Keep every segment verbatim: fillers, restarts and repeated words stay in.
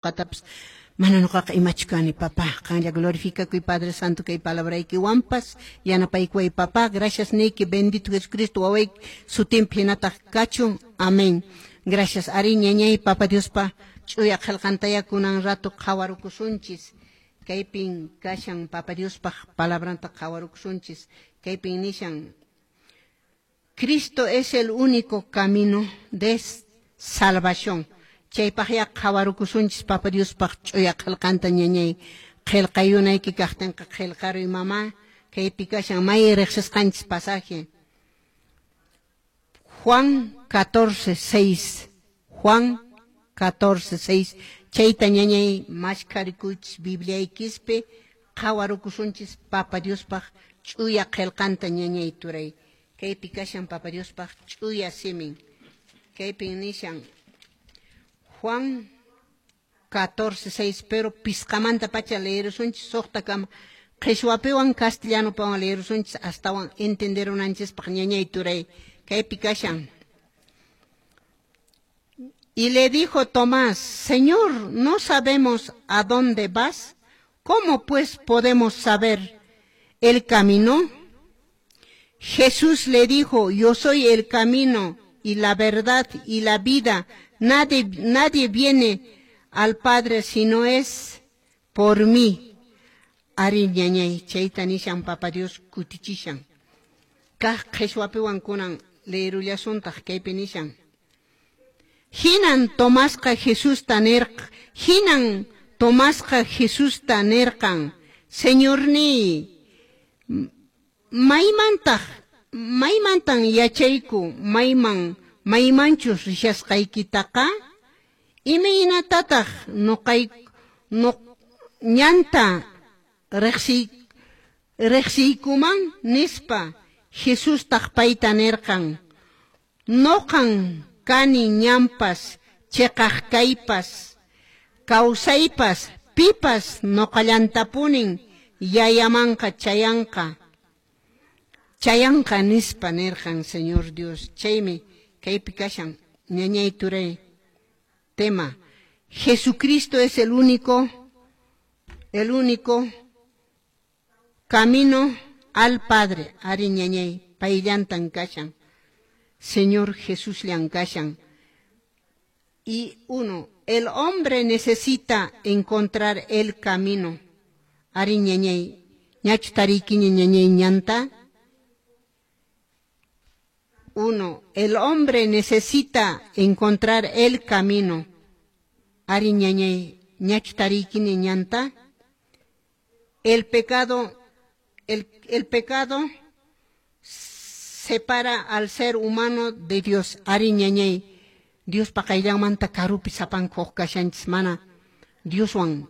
Qatapas mana nuqaqa imachu kani, papá. Qanlla glorifikakuy, Padre Santo, kay palabraykiwanpas yanapaykuway, papá. Gracias niyki, bendito Jesucristo wawayki sutinpi hinataq kachun. Amén. Gracias. Ari, ñañay, Papa Diospa ch'uya qillqantaya kunan rato qhawarukusunchis. Kaypin kashan Papa Diospaq palabranta qhawarukusunchis. Kaypin nishan: Cristo es el único camino de salvación. Chaypaqya qhawarukusunchis Papa Diospaq ch'uya qillqanta, ñañay. Qillqayunayki kaqtinqa qillqaruy, mamá. Kaypi kashan may riqsisqanchis pasaje. Juan catorce seis. Juan catorce seis. Chayta, ñañay, mashkarikuychis Bibliaykispi. Qhawarukusunchis Papa Diospaq ch'uya qillqanta, ñañay, turay. Kaypi kashan Papa Diospaq ch'uya simin. Kaypin nishan Juan catorce seis, pero pisqamanta pacha leerusunchis suqtakama. Qhishwapiwan castellanopiwan leerusunchis astawan entenderunanchispaq, ñañay, turay. Kaypi kashan: Y le dijo Tomás: "Señor, no sabemos a dónde vas. ¿Cómo, pues, podemos saber el camino?" Jesús le dijo: "Yo soy el camino y la verdad y la vida. Nadie, nadie viene al Padre si no es por mí." Ari, ñañay, chayta nishan Papa Dios kutichishan. Kaq qhishwapiwan kunan leerullashuntaq. Kaypi nishan: Hinan Tomasqa Jesusta nirqa, hinan Tomasqa Jesusta nirqan: "Señorníy, maymantaq maymantan yachayku mayman maymanchus rishasqaykitaqa? Imaynatataq nuqay nuq ñanta riqsiy riqsiykuman?" nispa. Jesustaq payta nirqan: "Nuqan kani ñanpas, chiqaq kaypas, kawsaypas. Pipas nuqallantapunin Yayamanqa chayanqa chayanqa nispa nirqan Señor Dios. Chaymi kaypi kashan, ñañay, turay, tema: Jesucristo es el único el único camino al Padre. Ari, ñañay, payllantan kashan. Señor Jesús llan kashan. Y uno, el hombre necesita encontrar el camino. Ari, ñañay, ñachu tariykiña, ñañay, ñanta? Uno, el hombre necesita encontrar el camino. Ari, ñañay, ñachu tariykiña ñanta? El pecado, el, el pecado separa al ser humano de Dios. Ari, ñañay, Diospa qayllanmanta karupi sapanka huk kashanchis, mana Dioswan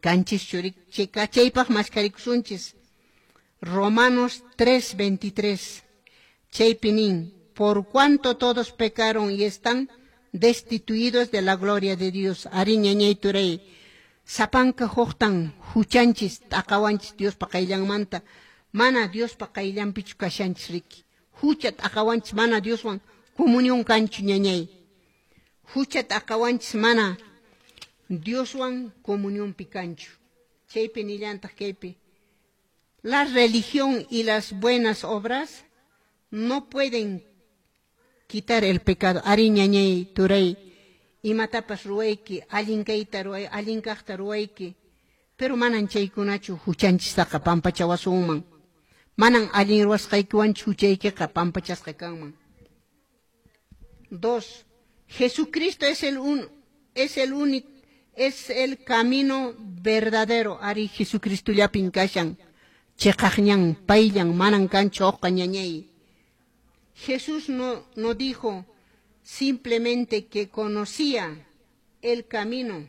kanchis churi. Chaypaq maskarikusunchis Romanos tres veintitrés. Chaypi nin: "Por cuanto todos pecaron y están destituidos de la gloria de Dios." Ari, ñañay, turay, sapanka huktan huchanchis t'aqawanchis Diospa qayllanmanta. Mana Diospa qayllanpichu kashanchis riki. Hucha t'aqawanchis, mana Dioswan comunión kanchu, ñañay. Hucha t'aqawanchis, mana Dioswan comunionpi kanchu. Chaypi nillantaq kaypi: La religión y las buenas obras no pueden quitar el pecado. Ari, ñañay, turay, imatapas ruwayki, allin kayta ruway, allin kaqta ruwayki, pero manan chaykunachu huchanchistaqa pampachawasunman. Manan allin ruwasqaykiwanchu huchaykiqa pampachasqa kanman. Dos, Jesucristo es el un, es el único, es el camino verdadero. Ari, Jesucristo llapin kashan chiqaq ñan, payllan, manan kanchu hukqa, ñañay. Jesús no, no dijo simplemente que conocía el camino.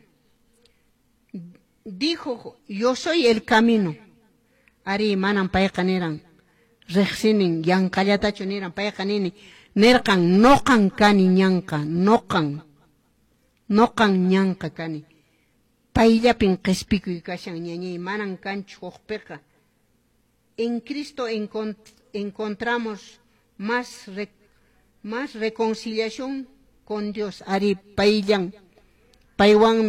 Dijo: "Yo soy el camino." Ari, manan payqa niran riqsinin yanqallatachu niran payqa, nini nirqan: "Nuqan kani ñanqa, nuqan nuqan ñanqa kani." Payllapin qispikuy kashan, ñañay, manan kanchu hukpiqa. En Cristo encontramos más, más reconciliación con Dios. Ari, payllan. Paywanmi